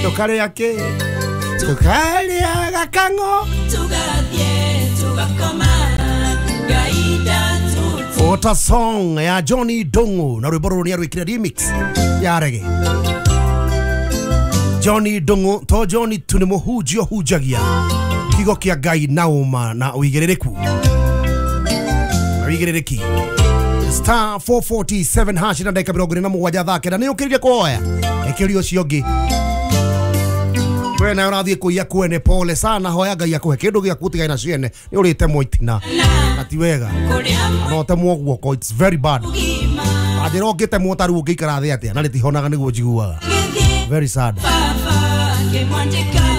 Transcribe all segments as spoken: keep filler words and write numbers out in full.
Tukarĩa kĩ? Tukarĩaga kang'o. What a song ya Johnny Ndung'u na rwĩmbo rũrũ nĩ arwĩkire remix ya reggae. Johnny Ndung'u to Johnny tu nĩ mũhunjia ũhunjagia kiugo kĩa Ngai na ũma na ũigĩrĩrĩku na ũigĩrĩrĩki. Star four forty-seven hash na ndagĩka mĩrongo ĩrĩ na mũgwanja thaa kenda nĩ ũkĩrire kũhoya ĩkĩria ũcio ũngĩ. We nawe ũrathiĩ kũiya kwene, pole sana, hoya Ngai akũhe kĩndũ gĩaku ũtigane na ciene nĩ ũrĩte itina na ti wega no ũtemwo guoko, it's very bad. Anjĩra ũngĩtemwo ta rĩu ũngĩikara thĩ atĩa na rĩtihonaga nĩguo njiguaga. Very sad.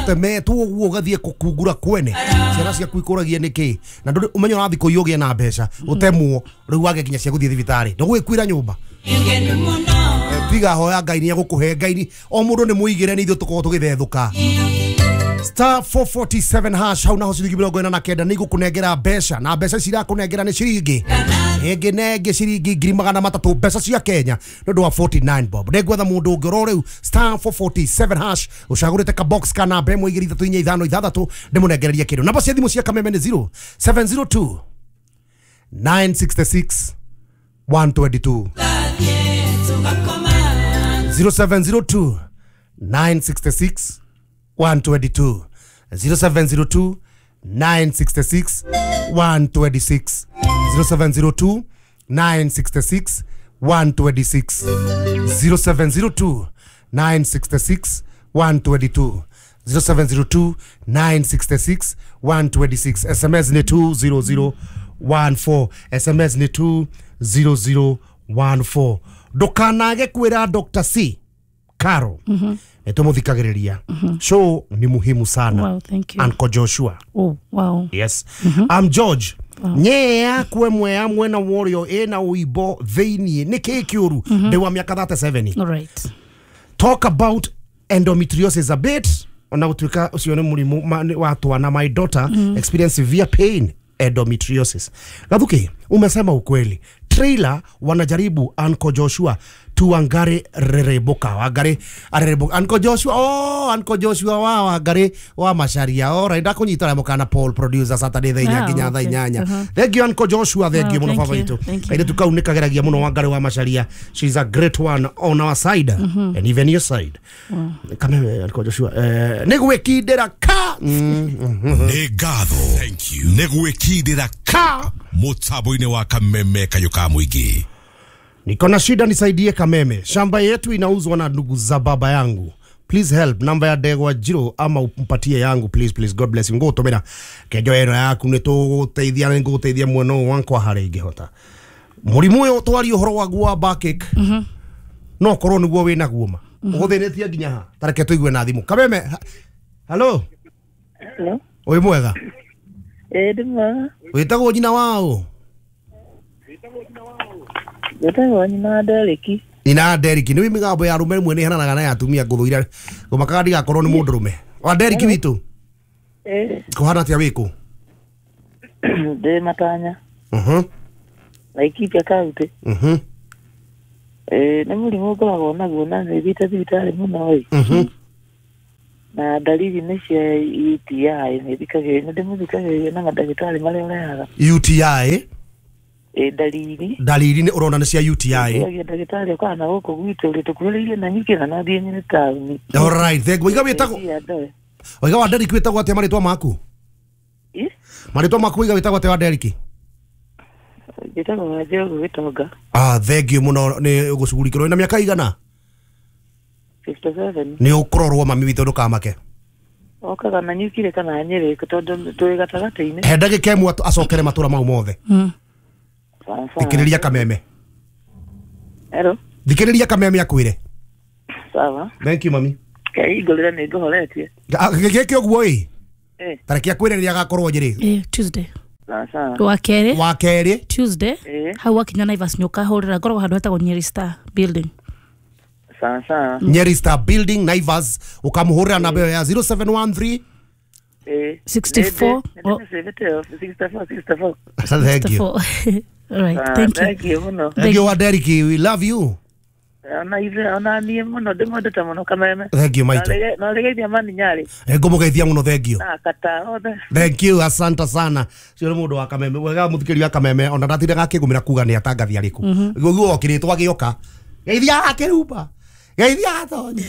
Ũtemetwo ũguo ũgathiĩ kũkungura kwene ciana ciaku ikũragia nĩkĩ na ndũrĩ ũmenye ũrathiĩ kũiya ũgĩe na mbeca ũtemwo rĩu wage nginya cia gũthiĩ thibitarĩ ndũgwĩkuĩra nyũmba. Tiga hoya Ngai nĩ egũkũhe Ngai nĩ o mũndũ nĩ mũigĩre nĩ ithuĩ tũkoragwo tũgĩthethũka. Star four forty-seven hash hau naho ciringi mĩrongo ĩna na kenda nĩ igũkũnengera mbeca na mbeca ici irakũnengera nĩ ciringi ĩngĩ na ĩngĩ ciringi ngiri magana matatũ mbeca cia Kenya nĩ ũndũ wa forty-nine bob. Nĩngwetha mũndũ ũngĩ oro rĩu star four forty-seven hash ũcagũrĩte ka box ka namba ĩmwe igĩrĩ ithatũ inya ithano ithathatũ ndĩmũnengererie kĩndũ. Namba cia thimũ cia Kameme nĩ zero seven zero two nine six six one two two. zero seven zero two nine six six one two two. zero seven zero two nine six six one two six. zero seven zero two nine six six one two six. zero seven zero two nine six six one two two. zero seven zero two nine six six one two six. S M S ni two zero zero one four. S M S ni two zero zero one four. Ndukanage kwira Doctor C Caro. Mm-hmm. Nĩtũmũthikagĩrĩria. Mm-hmm. Show ni muhimu sana. Wow, thank you. Uncle Joshua. Oh, wow. Yes. Mm-hmm. I'm George. Wow. Nyea kwe mwea mwena warrior ena uibo thĩiniĩ nĩ kĩĩ kĩũru ndĩ wa mĩaka thirty-seven. All right. Talk about endometriosis a bit. Ona gũtuĩka ũcio nĩ mũrimũ wa twana. My daughter mm-hmm. experience severe pain endometriosis. Gathuki, umesema ukweli. Trailer wanajaribu Uncle Joshua tuangare rereboka wangare arereboka Uncle Joshua, oh Uncle Joshua wa wangare wa Macharia. All right, ndakunyita na mukana Paul producer Saturday thaa inya nginya thaa inyanya. Thank you Uncle Joshua, thank you muno baba itu. Aire tukaunĩkageragia muno wangare wa Macharia. She's a great one on our side. Mm-hmm. And even your side. Wow. Kame Uncle Joshua eh nĩgwĩkindĩra ka nĩ ngatho. Thank you. Nĩgwĩkindĩra ka mũtambo-inĩ wa Kameme kayũ ka mũingĩ. Niko na shida, nisaidie Kameme. Shamba yetu inauzwa na ndugu za baba yangu. Please help. Namba ya Ndegwa Njiro ama umpatie yangu please please. God bless you. Ngũgũtũmĩra kenjo ĩno yaku nĩ tũgũteithia nĩ ngũgũteithia mwena ũyũ wakwa harĩa ingĩhota. Mũrimũ ũyũ twarie ũhoro waguo wa backache. Mhm. No korwo nĩguo wĩna guo ma. Ũgũthĩnĩtie nginya ha? Tareke tũigue na thimũ. Kameme. Hello. Hello. Wĩ mwega? Eh, ndĩ mwega. Wĩtagwo nyina wao? Wĩtagwo nyina wa Deriki. Nyina wa Deriki nĩ mĩgambo ya arũme rĩmwe nĩ ĩhananaga na ya atumia ngũthũire ngũmakaga ndigakorwo nĩ mũndũrũme. Wa Deriki witũ? Eh. Kũhana atĩa wĩkũ? Ndĩ Matanya. Mhm. Laikipia County. Mhm. Eh, nĩ mũrimũ ngoragwo naguo na nĩ thiĩte thibitarĩ mũno ĩ. Mhm. Na dalili nĩ cia U T I nĩ thikagĩrĩria nĩ ndĩmũthikagĩrĩria na mandagĩtarĩ marĩa ũrehaga. U T I? E dalili dalili nĩ ũrona nĩ cia U T I. Ndagĩtarĩ okaga na gũkũ gwitũ rĩ tũkuhĩrĩirie na nyingĩ na nathiĩ nyine taũni. All right, thank you. Waiga wĩtagwo Waiga wa Deriki wĩtagwo atĩa marĩtwa maku? Ĩ? Marĩtwa maku waiga wĩtagwo atĩa wa Deriki? Njĩtagwo Wanjĩrũ Gĩtonga. Ah, thank you mũno nĩ gũcugurikĩrwo. Na mĩaka igana? fifty-seven. Nĩ ũkũrorwo mami witũ ndũkamake. Okaga na nyukire kana Nyĩrĩ tondũ twĩ gatagatĩ-inĩ. He ndagĩka ĩmwe acokere matũra mau mothe. Mm. Thikĩrĩria Kameme. Hello. Thikĩrĩria Kameme akwĩre. Sawa. Thank you mami. Keingũrĩra nĩ ngũhoretie. Gĩkĩ ũguo ĩ? Eh. Tareke akwĩre rĩrĩa agakorwo Nyĩrĩ. Eh, Tuesday. Sawa. Wa kerĩ. Wa kerĩ. Tuesday. Hau wakinya Naivas nĩ ũkahũrĩra ngoragwo handũ hetagwo Nyeri Star Building. Sawa sawa. Nyeri Star Building Naivas ukamuhurira namba ya zero seven one three eh sixty-four sixty-four sixty-four. Thank you. All right, Ah, thank you. Thank you muno. Thank you Deriki, we love you. Ona ithe ona niĩ mũno ndĩmwendete mũno Kameme. Thank you maitũ. Na ũrĩgeithia mani Nyarĩ. Ngũmũgeithia mũno, thank you. Na kata othe. Thank you, asante sana. Cio nĩ mũndũ wa Kameme, wega mũthikĩri wa Kameme, ona ndatindaga akĩgũmĩra kuga nĩ atangathi arĩkũ. Guo okĩrĩtwo agĩoka. Geithia Kĩrumba. Geithia Tonyi.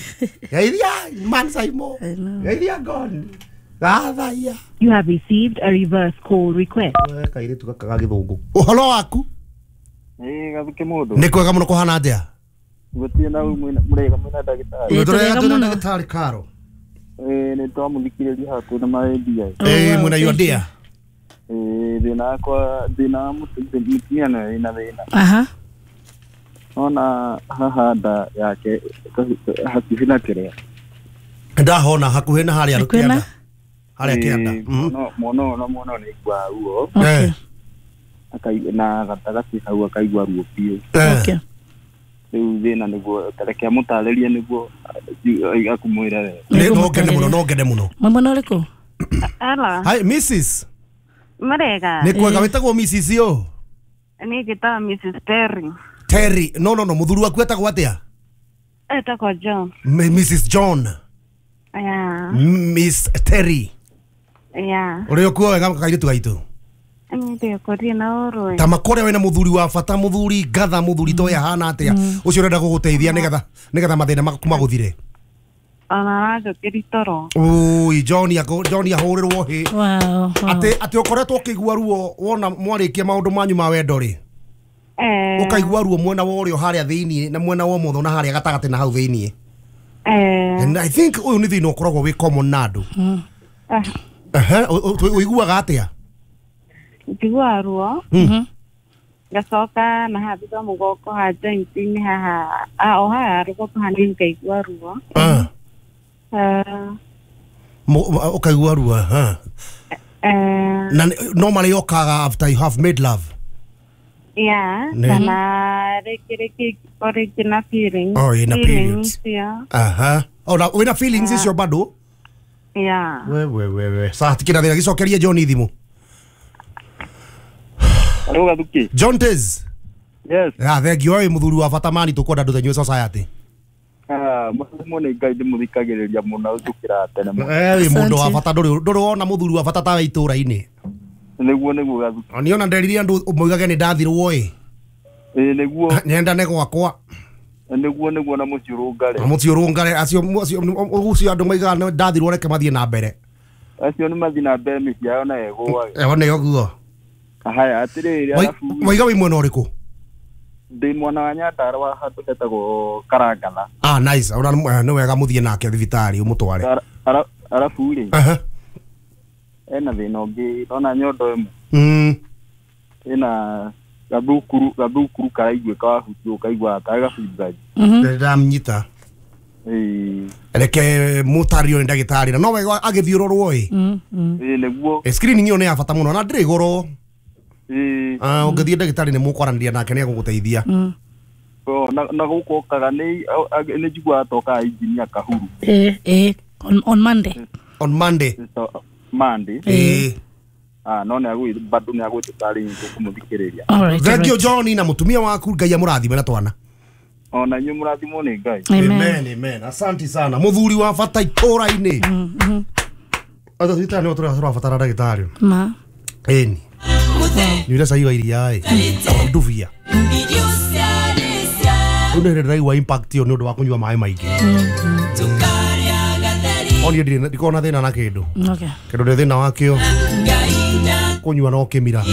Geithia Man Saimo. Geithia Goni. Gathaia. You have received a reverse call request. We kairĩtu gaka ga gĩthũngũ. Ũhoro waku? Ĩĩ gathuke mũndũ. Nĩ kwega mũno, kũhana atĩa? Gũtirĩ na mũrega mwĩna ndagĩtarĩ. Ĩĩ, Tũrega tũrega twĩna mũno. ndagĩtarĩ Karo. Ĩĩ nĩ twamũthikĩrĩria hakuhĩ na marendia. Ĩĩ mwĩna your dear. Ĩĩ thĩna wakwa thĩna wa mũtumia nĩwe wĩna thĩna. Aha. Ona haha nda yake hakuhĩ na kĩrĩa. Ndahona hakuhĩ na harĩa Hakuhĩ na? kĩanda. Harĩa kĩanda. Mhm. Mwana ũyũ na mwana ũyũ nĩ aiguaga ruo. Okay. Akaigua na gatagatĩ hau akaigua ruo biũ. Okay. Rĩu thĩna nĩguo reke amũtarĩrie nĩguo akumwĩra wega. Nĩ no ngene mũno, no ngene mũno. Mwĩ mwena ũrĩkũ? Hello. Hi Missus Murega. Nĩ kwega, wĩtagwo Missus yo? Niĩ njĩtagwo Missus Terry. Terry, no no no, mũthuri waku etagwo atĩa? Etagwo John. M- Missus John. Yeah. Miss Terry. Yeah. Ũrĩ ũkuo wega kairĩtu gaitũ? Niĩ ndĩkũrie na ũrũe. Ta makore wĩna mũthuri wa bata, mũthuri ngatha, mũthuri toĩ ahana atĩa, ũcio ũrenda gũgũteithia nĩgetha nĩgetha mathĩna maku magũthire. Ona aranjũkĩria toro. Ui, John akũ John ahũrĩrwo hĩ. Wow, wow. Atĩ atĩ ũkoretwo ũkĩigua ruo wona mwarĩkia maũndũ manyu ma wendo rĩ. Eh. Ũkaigua ruo mwena wa ũrĩo harĩa thĩiniĩ na mwena wa ũmotho na harĩa gatagatĩ na hau thĩiniĩ. Eh. And I think ũyũ nĩ thĩna ũkoragwo wĩ common na andũ. Ah, Ehe, ũiguaga atĩa? Njiguaga ruo. Mhm. Ngacoka na haha thutha wa mũgongo ha joint-inĩ haha, ah, o haha rũgongo hanini ngaigua ruo. Ah, Eh, mo- ũkaigua ruo, aha. eh, Na nĩ- normally yokaga after you have made love. yeah, Nĩ- kana rĩngĩ rĩngĩ ingĩkorwo rĩngĩ na feelings. Oh, ĩna Feelings periods. icio. Aha. Ona wĩna feelings icio bado? Yeah. We we we we. Sa tikira thĩna gĩcokerie John thimũ. Rĩu gathuke. John Tez. Yes. Ah, thank you. Wĩ mũthuri wa bata mani tũkwenda andũ tanyue society. Ah, mũthimo nĩ Ngai ndĩmũthikagĩrĩria mũno ũtukĩra tene mũno. Eh, wĩ mũndũ wa Asante. bata ndũrĩ ndũrĩ wona mũthuri wa bata tawe itũra-inĩ. Nĩguo nĩguo gathuke. Niĩ ona nderire andũ moigage nĩ ndathirwo ĩ. Ĩĩ nĩguo Nyendane gwakwa. nĩguo nĩguo na mũciĩ ũrũngare. Na mũciĩ ũrũngare acio acio ũcio andũ moigaga nĩ ndathirwo reke mathiĩ na mbere. Acio nĩ mathiĩ na mbere mĩciĩ yao na ĩgũage. Eho nĩ ũguo. Haya atĩrĩrĩ arabu Moiga wĩ mwena ũrĩkũ? ndĩ mwena wa Nyandarũa handũ hetagwo Karangana. Ah, nice. Ona nĩ wega mũthiĩ nake thibitarĩ ũmũtware. Ara- ara- Arabu rĩ Aha. ena thĩna ũngĩ ndona nyondo ĩmwe Mm. ĩna gathukuru gathukuru karaiguĩka wahutio ũkaigua tarĩ gabingaji. Mhm. Ndamnyita. Ĩĩ Reke mũtario nĩ ndagĩtarĩ na no wega agĩthiũrũrwo ĩ. Mm, mm. ĩĩ nĩguo Eh, screening ĩyo nĩ ya bata mũno na ndĩrĩ goro. ĩĩ Ah, ũngĩthiĩ ndagĩtarĩ nĩ mũkwaranĩria nake nĩ egũgũteithia. Mm. O, na na gũkũ okaga nĩ nĩ njiguaga tokaga injinia Kahuru Eh, eh, on, on Monday. On Monday. So, Monday. Ĩĩ. Ah, no nĩ agwĩ bado nĩ agwĩtĩka rĩngĩ kũmũthikĩrĩria. All right. Thank all you right. John na mũtumia waku Ngai amũrathime na twana. Ona inyuĩ mũrathimwo nĩ Ngai. Amen. Amen, amen. Asante sana. Mũthuri wa bata itũra-inĩ. Mhm. Atha thibitarĩ nĩho tũrabatara ndagĩtarĩ. Ma. Ĩni. Nyuire cai wa iria ĩ. Ndubia. Rĩu nĩ hĩndĩ ndĩraigua impact ĩyo nĩ ũndũ wa kũnyua maĩ maingĩ. Oni ndirĩ ndikoragwo na thĩna na kĩndũ. Okay. Kĩndũ ndĩ thĩna wakĩo. Kũnyua no kĩmira.